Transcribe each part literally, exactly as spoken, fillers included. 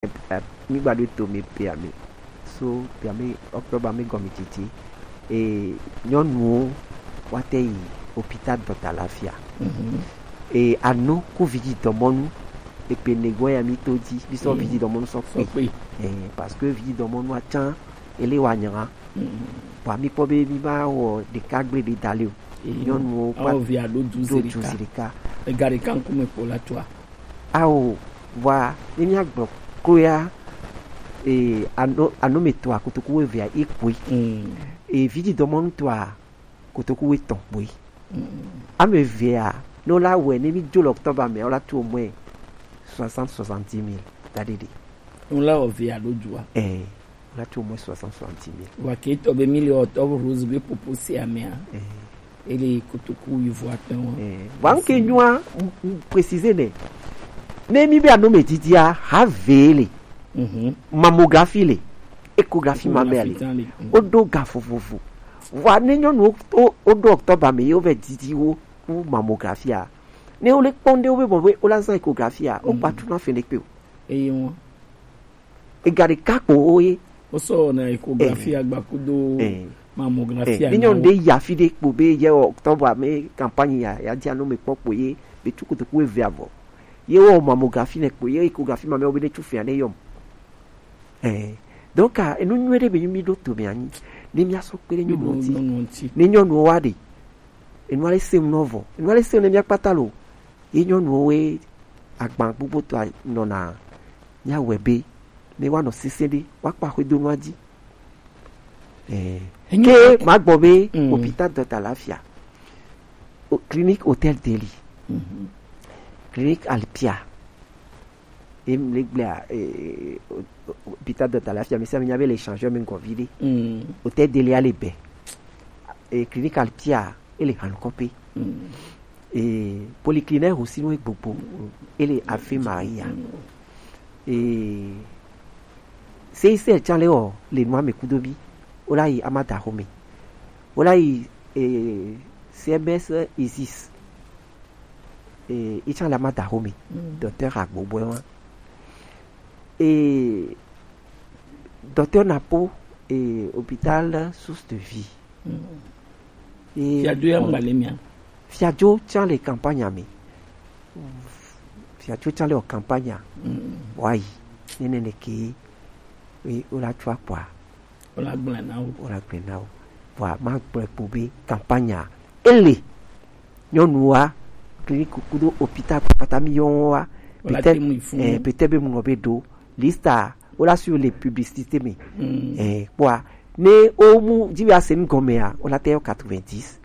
Mi gba ɖo to mi pe ame. So pe ame octobre ame gɔme titi. E nyɔnuwo wa te yi hôpital dɔta lafia. E anu ku viji dɔmɔnu. E pe ne gbɔ ya mi to di bi sɔ viji dɔmɔnu sɔ pe. E parce que viji dɔmɔnu atsan ele wa nyra. Bua mi kpɔ be mi ma wɔ ɖeka gble ɖe da le o. Nyɔnuwo kpa awo via ɖo du do zi du ɖeka. Zi ɖeka. Ega ɖeka ŋkume kpo la toa. Ao, vɔa ne mia gblɔ klo ya, e ano ano me toa kotoku wo evea ekpoe. E viji dɔmɔnu toa kotoku wo etɔn kpoe. Ame evea ne wo la wɛ ne mi dzo le octobre me wo la tu au moins soixante soixante-dix mille da ɖe ɖe. Ŋu la wɔ via ɖo dua. Ɛ, wo la tu au moins soixante soixante-dix mille. Wa ke tɔ be mi le octobre rose be popo se amea. Ɛ. Ele kotoku yi vɔ atɔ wa. Ɛ. Wa nke nyua préciser ne. Ne mi be ano me didia ha vele. Mhm. Mammographie le. Échographie mammaire le. Échographie tan le. Mhm. O do ga vovovo. Wa ne nyɔnu o o do octobre me yo ve didi wo ku mammographie a. Ne wo le kpɔn de wo be bɔ be wo la zan échographie a. O pa tu na fe ne pe o. Eye wọn. Ega ɖeka kpo wo ye. Wosɔ wɔna échographie agbakudo mammographie. Ni nyɔnu ɖe ya fi ɖe kpo be ye octobre me campagne ya ya dia no me kpɔ kpo ye be tu kotoku eve avɔ. Ye wɔ mammographie ne kpo ye échographie ma me wo be ne tu fia ne yɔm. Eh, donc enu nyuie ɖe be mi ɖo to me anyi ne mia sɔ kpe ɖe nyɔnu ŋuti. Ne nyɔnu wa ɖe enu ale se ŋu nɔ vɔ enu ale se ŋu ne mia kpata lo. Ye nyɔnuwo we agban gbogbo tɔ nɔna míawɔe be ne woanɔ sesẽ ɖe woakpa xwedonua dzi. Eh, ke magbɔ be hôpital dɔta lafia, clinique hôtel deli, clinique alpia, em le gblea hôpital dɔta lafia mi sa mi nya be le échangeur mi gɔvi ɖe. Hôtel deli ale bɛ, clinique alpia ele hankɔpe. Polyclinique aussi no gbogbo ele Ave Maria. Seisel can le wɔ le nua me kudo bi. Wola yi amada xome. Wola yi CMS Isis. Ican le amada xome. Docteur agbogbo wa. Docteur Napo, hôpital Source de Vie. Fiadzo ya ŋgba le mia. Fiadzo can le campagne me. Fiadzo can le wɔ campagne. Wa yi nene ne ke. Wola tsɔ akpɔa. Wola gblẽ na wo. Wola gblẽ na wo. Vɔa ma gblẽ kpo be campagne ele nyɔnua clinique kudo hôpital kpata mi yɔ wa. Peut-être be mu nɔ be do lista wola suivre les publicités me. Kpɔa ne o mu dzi be ase nu gɔmea wola te yɔ quatre-vingt-dix,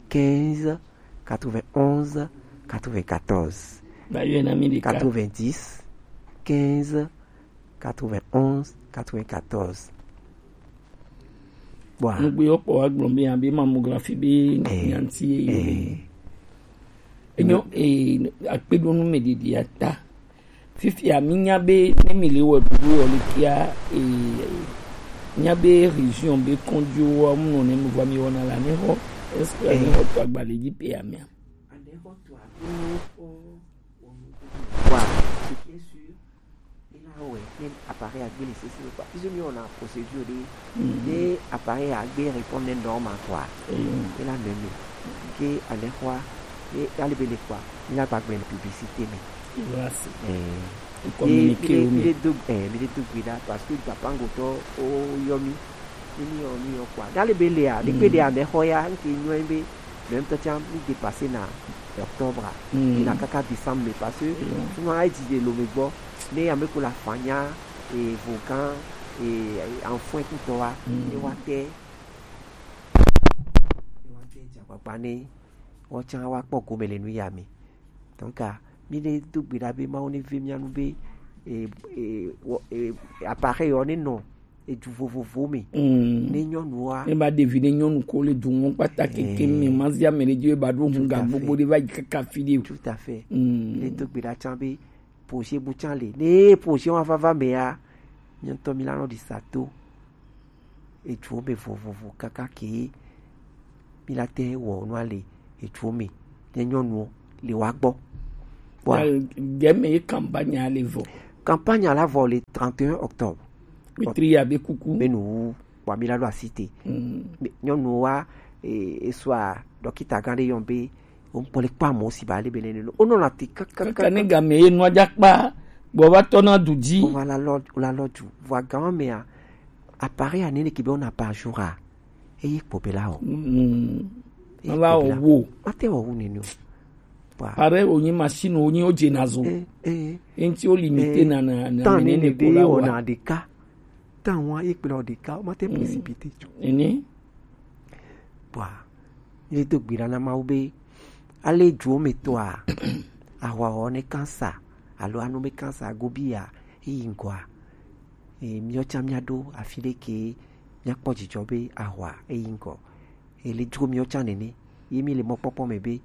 quinze, quatre-vingt-onze, quatre-vingt-quatorze. Quatre-vingt-dix, quinze, quatre-vingt-onze, quatre-vingt-quatorze. Nugbe yɔ kpɔ wa gblɔ be abe mammographie be nyanti ye. Enyo akpeɖonu me ɖiɖi ata. Fifia mi nya be ne mi le wɔ ɖuɖu wɔ le kia nya be région be kɔndziwo wa mu nɔ ne mu va mi wɔna la ne xɔ. Est-ce que ne xɔ to agba le dzi pe amia? Wa, ce qui est sûr, il a ouais, même appareil à gbé le C C le quoi. Puisque nous on a procédure de, de appareil à gbé répondre normal quoi. Il a même que à l'école et à l'ébélé quoi. Il a pas bien publicité mais. Voilà. Eh, communiquer. Il est deux, eh, il est deux parce que papa ngoto o yomi. Ni mi yɔ mi yɔ kpɔa. Dali be lea, ne kpe ɖe ame xɔ ya, nke nyɔ be, le ŋutɔ tia mi dépassé na octobre, yina kaka décembre me parce que souvent e dzi de lo me gbɔ, ne ame ko la fanya, e vogan, e enfant kutɔ wa, ne wa te, ne wa te dza kpakpa ne, wa tsa wa kpɔ gome le nu ya me. Donc, ah, mi ne do gbe ɖa be Mawu ne ve mia nu be, e, e, appareil yɔ ne nɔ edu vovovo me. Ne nyɔnua. Ne ba ɖevi ne nyɔnu ko le du ŋu kpata keke me ma zi ame ɖe dzi be ba ɖo ŋu ga gbogbo ɖe va yi kaka fi ɖe. Tout à fait. Ne do gbe ɖa tsa be projet bu tsa le. Ne projet wa vava me ya, mi ŋutɔ mi la nɔ ɖi sa to. Eduwo me vovovo kaka ke mi la te wɔ nua le eduwo me ne nyɔnuwo le wa gbɔ. Wa gɛme ye campagne le vɔ. Campagne la vɔ le trente et un octobre. Wetri ya be kuku. Be nu wu wa mi la ɖo asi te. Mm. Nyɔnu wa, e, e sua dɔkita gã ɖe yɔn be o ŋkpɔ le kpa mɔ si ba le be nene. O nɔ la te kaka. Kaka ne game ye nua dza kpa gbɔ va tɔ na du dzi. O va la lɔ, o la lɔ du. Vɔ gan mea, appareil ya nene ke be on a par jour a. Eye kpɔ be la o. Mm. Eye ma va kpɔ be la o. Wo. Ma te o wu nene o. Pare wonyi machine wonyi wo dze na zo. Eh, eh. Enti wo limite na na na tan ne ne ko la wa. Tan wa ye kple ɖeka, ma te précipité tso. Ene. Bwa, ye do gbi ɖa na Mawu be, ale duwo me tɔa, ahwa wɔ ne kansa, alo anu me kansa gobi ya, eyi ŋgɔa. E, miɔ tsa mia ɖo afi ɖe ke, mia kpɔ dzidzɔ be ahwa eyi ŋgɔ. Ele dro miɔ tsa nene. Ye mi le mɔkpɔkpɔ me be,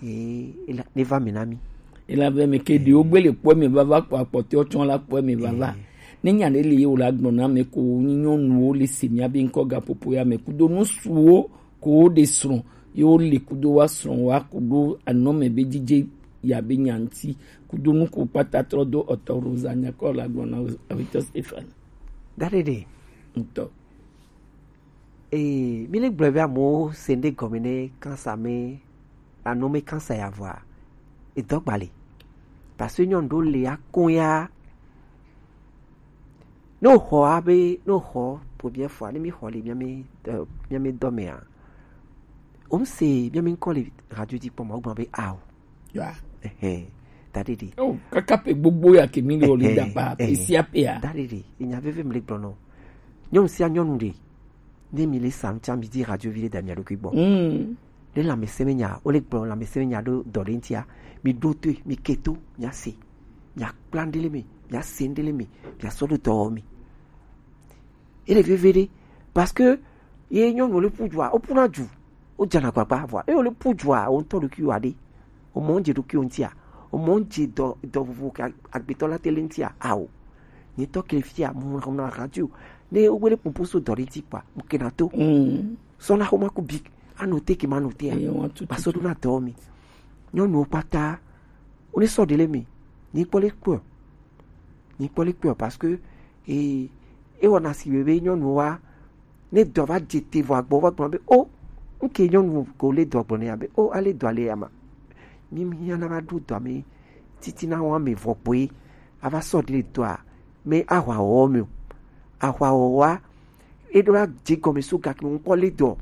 e, ela, ne va me na mi. Ela ve me ke ɖewo gbe le kpɔ me vava kpɔ akpɔtɔ tsɔ la kpɔ me vava. Eh. Ne nya ɖe le ye wo la gblɔ na me ko nyi nyɔnuwo le se mia be ŋkɔ gaƒoƒo ya me kudo nusuwo ko wo ɖe srɔ̃ ye wo le kudo wa srɔ̃ wa kudo anɔ me be dzidze ya be nya ŋti kudo nu ko kpata trɔ do ɔtɔ Rosa nya kɔ la gblɔ na Avitɔ Stéphane. Da ɖe ɖe. Ŋutɔ. Ee, mi le gblɔe be amewo se ŋɖe gɔme ne kansa me, anome kansa ya vɔa, edɔ gba le. Parce que nyɔnu ɖewo le akɔn ya. Ne woxɔ abe, ne woxɔ première fois, ne mi xɔ le mia mi, euh, mia mi dɔ mea, wo mi se mia mi ŋkɔ le radio dzi kpɔ ma, wo gblɔ be ao. Ya. Ɛhɛn, da ɖe ɖe. Oh, kaka pe gbogbo ya ke mi le o le da pa pe sia pe ya. Da ɖe ɖe, enya veve mi le gblɔ nɔ. Nyɔnu sia nyɔnu ɖe, ne mi le sam tsa mi di radio vi ɖe da mia ɖokui gbɔ. Mm. Ne lãmesẽ me nya, wo le gblɔ lãmesẽ me nya ɖo dɔ ɖe ŋtia, mi ɖo toe, mi ke to, mia se, mia kpla ŋɖe le me, mia se ŋɖe le me, mia sɔ ɖo dɔ wɔ me. Ele veve ɖe, parce que ye nyɔnu le pu dua, wo puna du, wo dzana agbagba vɔa, eye wo le pu dua, wo ŋutɔ ɖokui wa ɖe, o mɔ dze ɖokui o ŋtia, o mɔ dze dɔ, dɔ vovo ke agbetɔ la te le ŋtia, ao. Nye tɔ ke fia, mo na radio, ne wo le popo so dɔ ɖe ŋti kpa, mo ke na to. Mm. Sɔ na xoma ku bi, ano te ke ma no te a. Eye wa tutu. Ba sɔ ɖo na dɔ mi. Nyɔnuwo kpata, wo ne sɔ ɖe le mi, ni kpɔ le kpɔ. Ni kpɔ le kpɔ parce que, e, e wɔna si be nyɔnu wa, ne dɔ va dze te vɔ agbɔ va gblɔ be, o, nke nyɔnu ko le dɔ gblɔ ne ya be, o, ale dɔ ale ya ma. Mi, mi ya na va ɖo dɔ me, titi na wa me vɔ gboe, a va sɔ ɖe le dɔa, me ahwa wɔ me o. Ahwa wɔ wa, e ɖo la dze gɔme so gake me ŋkɔ le dɔ,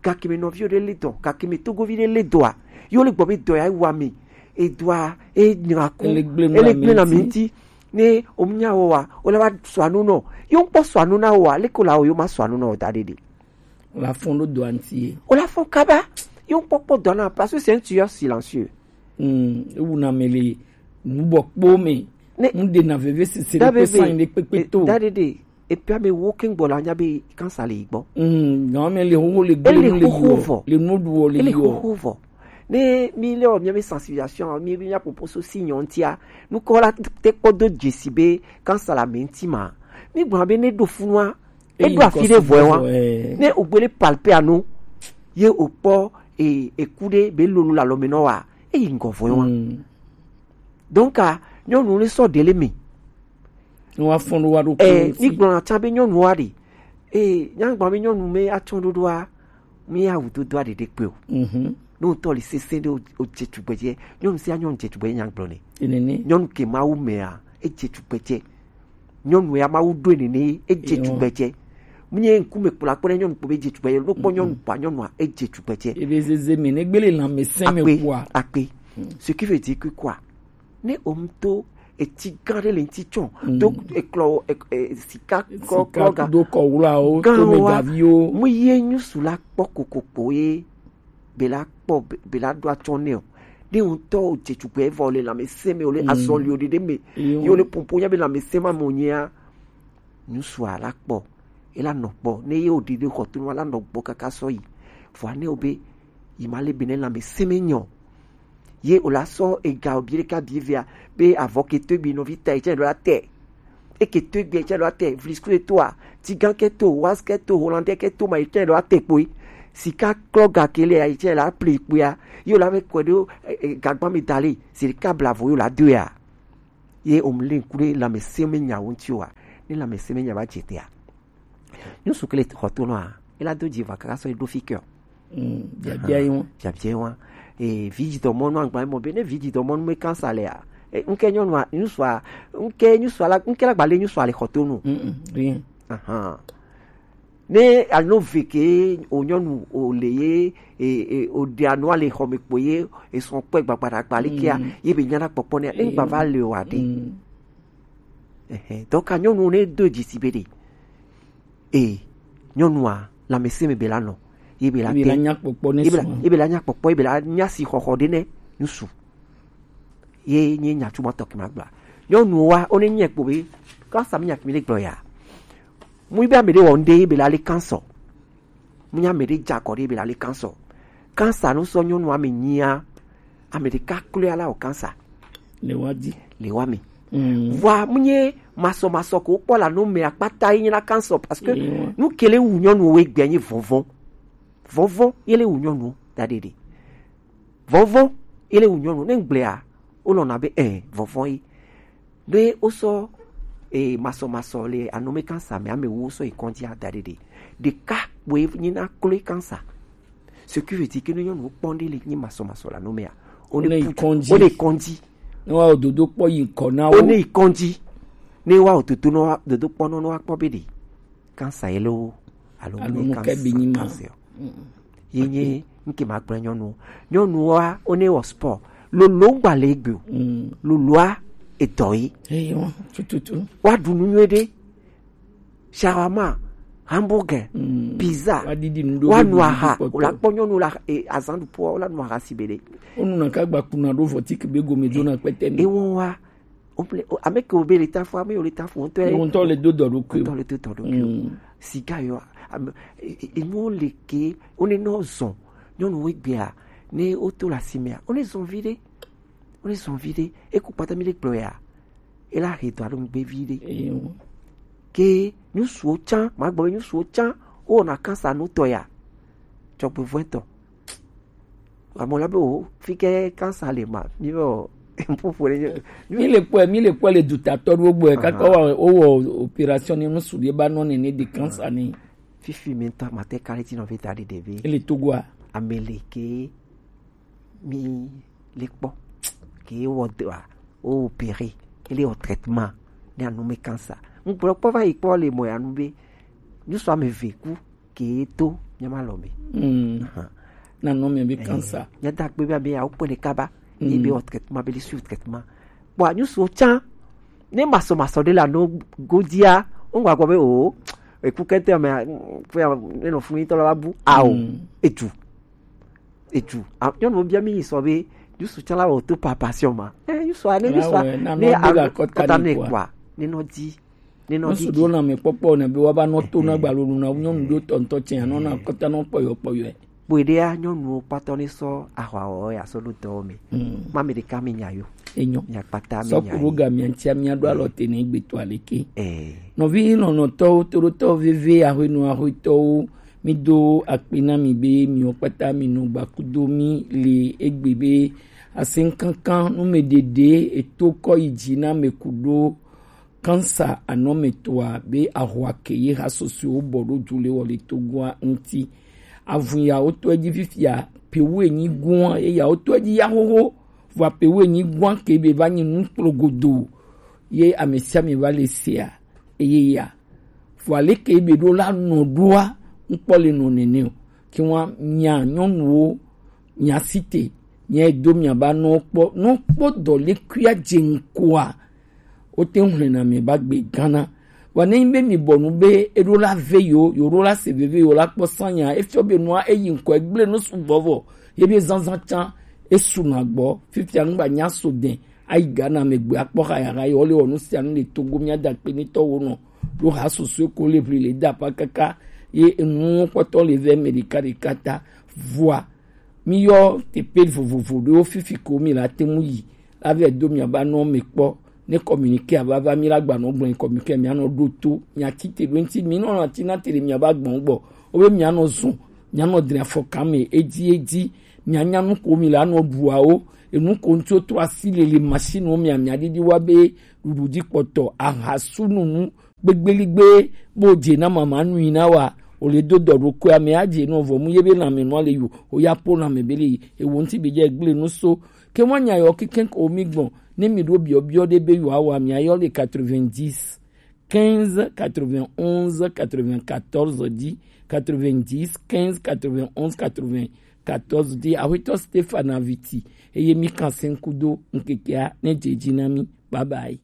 gake me nɔvi ɖe le dɔ, gake me togovi ɖe le dɔa, yo le gbɔ be dɔ ya wa me, e dɔa, e nyra ku, ele gble na me ŋti. Ne o nya wo wa, o la va sɔ anu nɔ, yo ŋkpɔ sɔ anu na wo wa, le ko la wo yo ma sɔ anu nɔ da ɖe ɖe. O la fɔn ɖo dɔa ŋti ye. O la fɔn kaba, yo ŋkpɔ kpɔ dɔ na, parce que c'est un tueur silencieux. Mm, ewu na me le nubɔ kpo me. Ne nu de na veve sese ɖe pe sanyi ɖe kpekpe to. Da ɖe ɖe. Epi ame wo ke ŋgbɔ la nya be kansa le yi gbɔ. Mm, non, mais le xoxo le gbele nu le yi vɔ. Le nu ɖu wɔ le yi vɔ. Ele xoxo vɔ. Ne mi le o mia be sensibilisation, mi be mia popo so si nyɔ ŋtia, nukɔ la te kpɔ do dzesi be kansa la me ŋti ma. Mi gblɔ be ne ɖo funua, e ɖo afi ɖe vɔe wa. Ne o gbele palpe anu, ye o kpɔ e, eku ɖe be lolo la lɔ me nɔ wa, e yi ŋgɔ vɔe wa. Mm. Donc, a, nyɔnu le sɔ ɖe le me. Wa fɔn ɖo wa ɖo. Eh, mi gblɔ na tsa be nyɔnu wa ɖe. Eh, nyagba be nyɔnu me atsɔ ɖoɖoa, mi awu dodo a ɖeɖe kpe o. Mhm. No ŋutɔ le sese ɖe o, o dze tugbedze. Nyɔnu sia nyɔnu dze tugbedze nyagblɔ ne. Enene. Nyɔnu ke Mawu mea, e dze tugbedze. Nyɔnu ya Mawu ɖo nene, e dze tugbedze. Munye ŋkume kpla kpɔ ɖe nyɔnu kpɔ be dze tugbedze. Ɖo kpɔ nyɔnu kpɔ nyɔnua, e dze tugbedze. Ebe zeze me ne gbele lãmesẽ me kua. Akpe. Ce qui veut dire que quoi? Ne o ŋutɔ eti gã ɖe le ŋti tsɔ, do eklɔ, e, e, sika klɔ, klɔ ga do kɔ wlawo, to me gaviwo. Mu ye nyusu la kpɔ kokokpo ye, be la kpɔ, be, be la ɖo atsɔ nɛ o. Ne ŋutɔ o dze tugbɛ vɔ le lãmesẽ me o le azɔli o ɖeɖe me, yo le popo nya be lãmesẽ ma mo nyea. Nyusua la kpɔ, e la nɔ kpɔ, ne ye o ɖiɖi xɔ to nu la nɔ gbɔ kaka sɔ yi. Vɔa ne o be, yi ma le be ne lãmesẽ me nyɔ. Ye o la sɔ ega o bi ɖeka bi vea, be avɔ ke to egbe nɔvi ta etsɛ ɖo la tɛ. Eke to egbe etsɛ ɖo la tɛ, vlisku e to a, tigan ke to, was ke to, hollandais ke to ma etsɛ ɖo la tɛ kpoe. Sika klɔ ga ke le etsɛ la pli kpoe a. Ye o la be kɔe ɖo, e, e, gagba mi da le, sika blavo yo la do ya. Ye o mu le ku ɖe lãmesẽ me nyawo ŋuti oa? Ne lãmesẽ me nya va dze te a, nyɔnu ke le xɔ to nɔ a, e la do dzi va kaka sɔ e ɖo fi ke o. Mm, biabia yi ŋu. Biabia yi ŋu. E, vi dzi dɔmɔnu agba mɔ be ne vi dzi dɔmɔnu me kansa le a. E, ŋke nyɔnu a, nyɔnu a, ŋke nyɔnu a la, ŋke la gba le nyɔnu a le xɔ to nu. Mm, mm, rien. Ahan. Ne alo ve ke o nyɔnu o le ye, e, e, o ɖe anɔ ale xɔ me kpo ye, e sɔ kpɔe gbagba ɖe agba le kea, ye be nyana kpɔkpɔ ne, ne gba va le o aɖe. Ɛhɛ, donc a nyɔnu ne do dzi si be ɖe. E, nyɔnua, lãmesẽ me be la nɔ. Ye be la Ye be la te. Nya kpɔkpɔ ne Ye be la, sɔ. Ye be la nya kpɔkpɔ, ye be la nya si xɔxɔ ɖe ne, ŋsu. Ye nye nya tsu ma tɔ ke ma gblɔ. Nyɔnuwo wa, wo ne nye kpo be, kansa mi nya ke mi le gblɔ ya. Mu yi be ame ɖe wɔ ŋɖe ye be la le kansa. Mu nya ame ɖe dza kɔ ɖe ye be la le kansa. Kansa nu sɔ nyɔnu ame nyia, ame ɖeka kloe ala wɔ kansa. Le wa di. Le wa mi. Mm. Vɔa, mu nye masɔmasɔ ko kpɔ la nu me akpata yi nye na kansa parce que Ewa. Nu ke le wu nyɔnu wo gbɛ nye vɔvɔ. Vɔvɔ ye le wu nyɔnu da ɖeɖe. Vɔvɔ ye le wu nyɔnu ne gblea, wo lɔna be, eh, vɔvɔ ye. Ne wosɔ, eh, masɔmasɔ le anome kansa me, ame wo sɔ yi kɔndzi ada ɖeɖe. Ɖeka kpoe nyi na kloe kansa. Ce qui veut dire que ne nyɔnu kpɔn ɖe le nyi masɔmasɔ le anome a, wo Wo ne ne yi put-, kɔndzi. Wo ne kɔndzi. Ne wa dodo kpɔ yi ŋkɔ na Wo wo. Ne yi kɔndzi. Ne wa dodo nɔ, dodo kpɔ nɔ, nɔ wa kpɔ be ɖe kansa ye lo, alo Alo ne nu ke kansa, be nyi ma. Kansa o. Mm. Ye nye, nke ma gblɔ nyɔnu. Nyɔnu wa, wo ne wɔ sport. Lolo gba le egbe o. Mm. Loloa, edɔ ye. Eyi wa, tututu. Wa ɖu nu nyuie ɖe. Shawarma, hamburger, Mm. Pizza. Wa ɖiɖi nu ɖo Wa be nu ɖiɖi aha. Kpɔtɔ. Wo la kpɔ nyɔnu la, e, azan ɖu po, wo la nu aha si be ɖe. Wo nu na ka gba kuna ɖo vɔti ke be gome do na kpɛtɛ mi. E wo wa, Wo ple, o, ame ke wo be le ta fo, ame yo le ta fo, ŋutɔ ye. Ŋutɔ le do dɔ ɖokui o. Ŋutɔ le do dɔ ɖokui o. Mm. Siga yo, ame, e, e, e, nuwo le ke, wo ne nɔ zɔn, nyɔnu wo gbea, ne wo to le asi mea, wo ne zɔn vi ɖe, wo ne zɔn vi ɖe, e ku kpata mi le gblɔ ya, e la he dɔ alo ŋgbe vi ɖe. Eyo. Ke nyusuwo tsã, ma gblɔ be nyusuwo tsã, wo wɔna kansa nu tɔ ya, dzɔgbevɔ̃etɔ. Amewo la be o, fi ke kansa le ma, mi be o, ƒoƒo ɖe nye. Mi le kpɔe, mi le kpɔe le dutatɔ ɖewo gbɔe, Aha. Kaka wa, wowɔ opération ne nusu ɖe ba nɔ nene de kansa ne. Fifi mi ŋutɔ mate ka le ti nɔ fi ta ɖe ɖevi. Ele Togoa. Ame le ke mi le kpɔ. Ke wɔ dɔa, o opéré, ele wɔ traitement, ne anu me kansa. Ŋgblɔ kpɔ va yi kpɔ le mɔ ya nu be, nyusu ame ve ku. Ke to nyama lɔ me. Mm. Ahan. Na nɔ me be Eh, kansa. Nya da gbe be ame ya wo kpɔ ne kaba. Mm. Yi be o traitement, be li suivre traitement. Bon, anyu so tsa. Ne masɔ masɔ de la no godia. O ngwa gɔ be o. E ku kente me, mm, fo ya, ne no fun yi tɔ la bu. Ao. Mm. Etu. Etu. A, nyɔnu bia mi sɔ be, yusu tsa la o to par passion ma. Eh, yusu a, ne Ah yusu a, ouais, na ne no a, de la kɔta kɔta ne ne kwa. Kwa. Ne no di. Ne nɔ Ŋsu ɖo lãmekpɔkpɔ ne be woava nɔ to na gbalonu na nyɔnu ɖo tɔ ŋutɔ tsɛ, anɔ na kɔta nɔ kpɔyɔ kpɔyɔe. Kpoe ɖea, nyɔnuwo kpatɔ ne sɔ ahwa wɔ ya sɔ ɖo dɔwo me. Mm. Ma me ɖeka me nya yo. Enyo. Mia kpata me nya Sɔku ɖo yo. Ga mia ŋtia mia ɖo alɔ te ne gbe to aleke. Eh. Nɔvi lɔlɔ̃tɔwo, toɖotɔwo veve, ahwenu ahwetɔwo, mi do akpe na mi be miwo kpata mi nɔ gbakudo mi le egbe be asenkankan nu me ɖeɖe eto kɔ yi dzi na me ku ɖo Kansa anɔmetɔa be ahwa ke ye ha sɔsɔewo bɔ ɖo du le wɔ le Togoa ŋuti. Avun ya wotɔ edzi fifia, pewu enyi gua, ye ya wotɔ edzi ya xoxo, vɔa pewu enyi gua ke be va nyi nu kplogodo, ye ame sia ame va le sea, eye ya. Vɔa leke be ɖo la nɔ ɖoa, ŋkpɔ le nɔ nene o. Ke wa mia nyɔnuwo, mia site, mia do mia ba nɔ kpɔ, nɔ kpɔ dɔ le kuia dze ŋkɔa, wote ŋu hlɛna mi va gbe Ghana. Vɔ ne nyi be mi bɔ nu be eɖo la ve yo, yo ɖo la se veve yo la kpɔ sanya, efiɔ be nua eyi ŋkɔ egble nu sugbɔ vɔ, ye be zanzan can esu na gbɔ, fifia nu gba nya so dɛn, ayi Ghana me gbe akpɔ ha ya ha yo le wɔ nu sia nu le Togo mia da kpe ni tɔ wo nɔ, ɖo ha soso ko le ʋli le da pa kaka, ye enu kpɔtɔ le vɛ me ɖeka ɖeka ta, vɔa, Mi yɔ teƒe vovovo ɖewo fifi ko mi la te ŋu yi la vɛ do mia ba nɔ mi kpɔ. Ne communiqué a va va mi la gba nɔ gblɔ communiqué mia nɔ ɖo to mia ti te ɖo ŋuti mi nɔ na ti na te ɖe mia ba gbɔn gbɔ. Wo be mia nɔ zɔn, mia nɔ dre afɔka me edzi edzi, mia nya nu ko mi la nɔ ɖuawo, enu ko ŋuti wo trɔ asi le le machine wo mia mia ɖiɖi wa be ɖuɖu ji kpɔtɔ, ahasununu gbegbeligbe, bo je na mama nui na wa, o le do dɔ ɖokui ame a je no vɔ mu ye be lanme nua le yo, o ya po lanme be le yi, e wo ŋuti be je gble nu so. Ke wa nya yɔ keke ko mi gbɔn, ne mi ɖo biɔ biɔ ɖe be yo awa mi ayɔ le quatre-vingt-dix, quinze, quatre-vingt-onze, quatre-vingt-quatorze di, quatre-vingt-dix, quinze, quatre-vingt-onze, quatre-vingt-quatorze di, Aƒetɔ Stefana Viti, eye mi kan se ŋku do ŋkekea ne je ji na mi. Bye bye.